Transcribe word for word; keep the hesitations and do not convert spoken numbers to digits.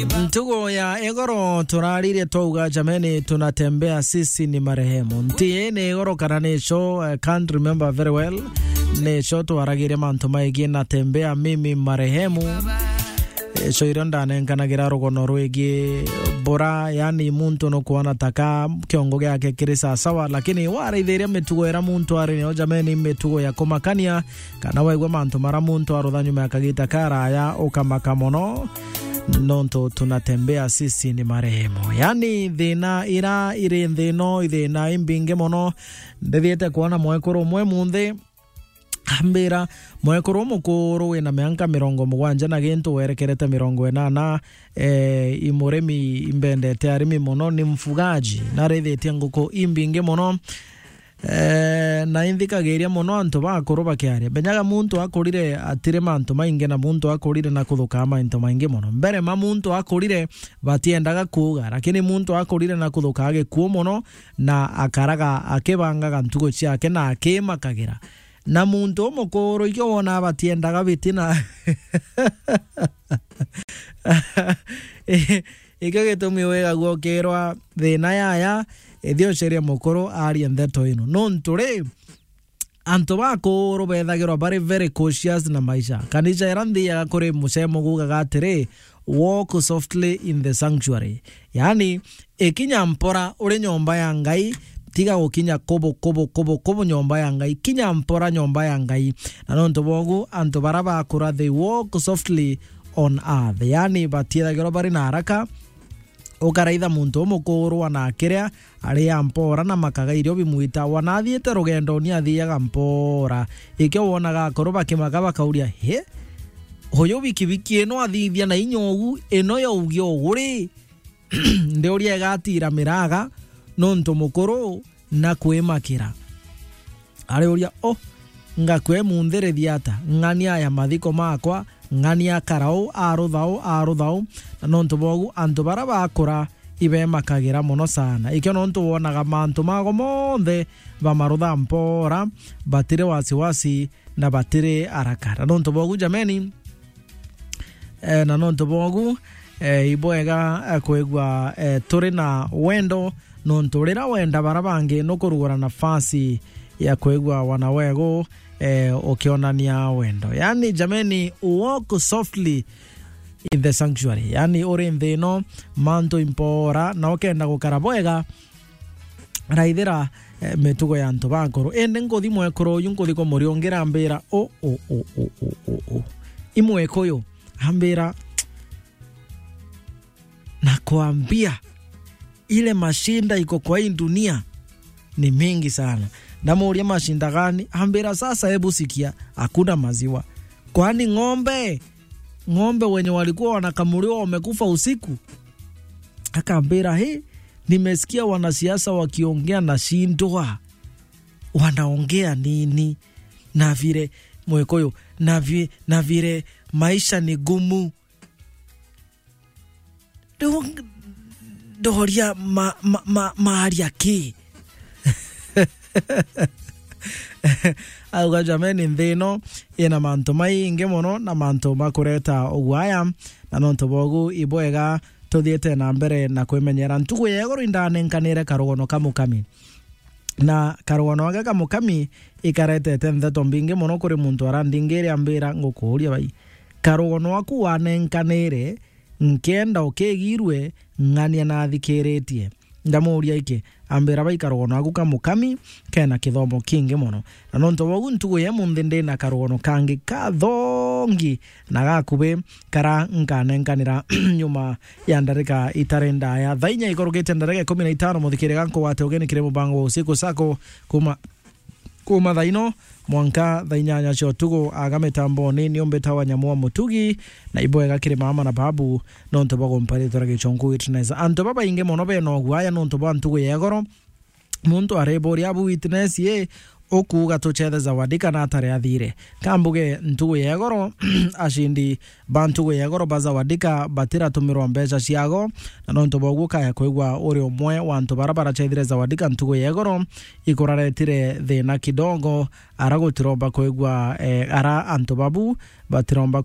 Ntugo ya igoro turaririe twauga, jameni, tunatembea sisi ni marehemu. Nti ni igoro kana ni icio, I can't remember very well. Ni icio twaragirie mantu maigii natembea mimi marehemu. Icio irio ndanenkanagira rugono rwigii bura, yani muntu nukwona taka kiongo giake kiri sasawa, lakini waraithiria mitugo ira muntu ari nayo, jameni, mitugo ya kumakania, kana waigua mantu mara muntu arutha nyuma ya kagita karaya, ukamaka mono, nontu tunatembea sisi ni marehemu. Yani, thina ira iri nthi ino, i thina imbingi mono. Ndithiite kwona mwekuru umwe munthi, ambira, mwekuru umukuru wina mianka mirongo mugwanja na gintu werekerete mirongo inana, eh, i murimi, imbendete arimi mono, ni mfugaji, narithitie nguku imbingi mono. Eh, na inthikagiria mono antu bakuru bakiaria. Menyaga muntu akurire atiri mantu maingi, na muntu akurire na kuthukaa mantu maingi mono. Mbere ma muntu akurire batiendaga kuuga, lakini muntu akurire na kuthukaa gikuu mono, na akaraga akibangaga ntugo ciake na akimakagira. Na muntu umukuru ikio wona batiendaga bitina. Ikio gitumi wigagua ukirwa thina yaya, ithi ucerie mukuru arie ndeto ino. Nontu ri, antu bakuru bethagirwa bari very cautious na maisha. Kanisa ira nthiaga kuri mucemo gugaga atiri, "Walk softly in the sanctuary." Yani, ikinya mpora uri nyomba ya Ngai, tiga gukinya kubu, kubu, kubu, kubu nyomba ya Ngai. Kinya mpora nyomba ya Ngai. Na nontu bogu, antu bara bakura, they walk softly on earth. Yani, batiethagirwa bari na haraka. Ukaraitha muntu umukuru ana akiria, ari ampora na makaga irio bimwita, wana athiite rugendo ni athiaga mpora. Ikio wonaga akuru bakimaka bakauria, "He? Uyu bikibiki ino athithia na inya ugu, ino yaugia ugu ri?" Ndiuria igatira miraga, nontu mukuru na kwimakira. Ariuria, "O, ngakua imunthirithia ata? Ng'ania aya mathiko makwa, ng'ania akarau, arutha u, arutha u." Na nontu bogu, antu bara bakura ibemakagira mono sana. Ikio nontu wonaga mantu mago monthe bamarutha mpora, batiri wasiwasi na batiri haraka. Na nontu bogu, jameni, eh, na nontu bogu, eh, ibwega, eh, kwigua, eh, turi na wendo, nontu rira wenda bara bangi nukurugura nafasi ya kwigua wana wegu, eh, ukionania wendo. Yani, jameni, walk softly in the sanctuary. Yani, uri nthi ino, mantu impora, na ukenda gukara bwega, raithira, eh, mitugo ya antu bakuru. Indi nkuthi mwekuru uyu, nkuthi kumuriungira, ambira, "O, o, o." I mwekuru uyu, ambira, "Nakwambia, ile mashinda iko kwa hii dunia ni mingi sana." Ndamuuria, "Mashinda gani?" Ambira, "Sasa hebu sikia, hakuna maziwa." "Kwani ng'ombe? Ng'ombe wenye walikuwa wanakamuliwa wamekufa usiku?" Akambira, "He, nimesikia wanasiasa wakiongea, nashindwa wanaongea nini? Na vile mwekuru uyu, na vi-, na vile maisha ni gumu." Riu ndoria ma-, ma-, ma-, maaria ki? Auga, jameni, nthi ino ina mantu maingi mono na mantu makureta uguaya, na nontu bogu ibwega tuthiite na mbere na kwimenyera. Ntugu ya iguru indanenkanire karugono ka mukami. Na karugono gaka ka mukami ikaretete ntheto mbingi mono kuri muntu arandingire, ambira, "Ngukuuria bai, karugono aku wanenkanire, nkenda ukigirue, ng'ania nathikiritie." Ndamuuria iki, ambira, "Bai, karugono aku ka mukami kena kithomo kingi mono." Na nontu bogu, ntugu ya imunthi ndina karugono kangi kathongi na gakubi kara nkanenkanira nyuma ya ndarika itari ndaya. Thaa inya ikurukite ndarika ikumi na itano, muthikire gankugwate ugeni kiri mubango wa Usiku Sako kuma, kuma thaa ino mwanka thaa inyanya cia utuku. Aga mitamboni ni umbita wa Nyamua Mutugi, na ibwega kiri mama na babu nontu bwa gumpa ritwa ria Gichunku Witness. Antu babaingi mono bena uguaya nontu bwa ntugu ya igoro. Muntu ariburia abu witness ye, ukuuga tuchethe Zawadi kana atari athire? Kambuge ntugu ya igoro, acindi ba ntugu ya igoro ba Zawadika batiratumirwa mbeca ciago, na nontu boguo kaya kwigua uri umwe wa antu bara barachethire Zawadika ntugu ya igoro, ikuraretire thina kidogo, ara gutiromba kwigua, eh, ara antu babu batiromba